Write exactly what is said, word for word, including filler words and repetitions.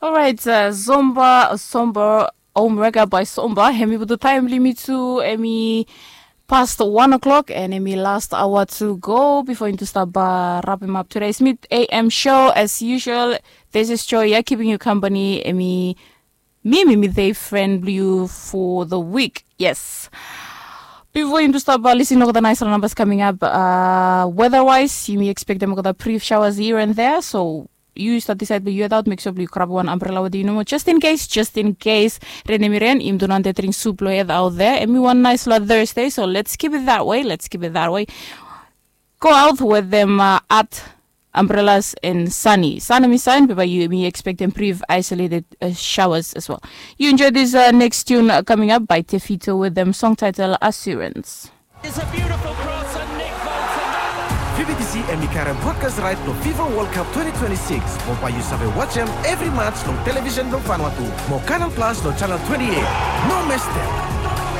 Orait, Zomba Somba Omrega by Somba, hemi putu taem blong yumi tu, hemi past one o'clock and hemi last hour to go before yumi tu stap rapem up today's mid A M show. As usual, this is Joy ia keeping you company. Hemi mi mi mi the friend blong you for the week. Yes. Before yumi tu stap listening olgeta nice numbers coming up, uh, weather wise yumi expectem olgeta brief showers here and there, so yu stap decide blong yu head out, make sure blong yu grab wan umbrella wetem yu nomo, just in case, just in case. Ren hemi ren, yumi tu nao dring sup long head out there. Hemi wan nice long Thursday, so let's keep it that way, let's keep it that way. Go out wetem, uh, at umbrellas and sunny. Sun hemi saen, be bae yumi expectem brief isolated, uh, showers as well. You enjoy this, uh, next tune, uh, coming up by Tefito wetem song title Assurance. It's a beautiful cross and Nick Bolton. Vivi D C hemi karem broadcast right blong FIFA World Cup twenty twenty-six. Mo bae yu save wajem evri match long television blong Vanuatu. Mo Canal Plus long channel twenty-eight. No mistem.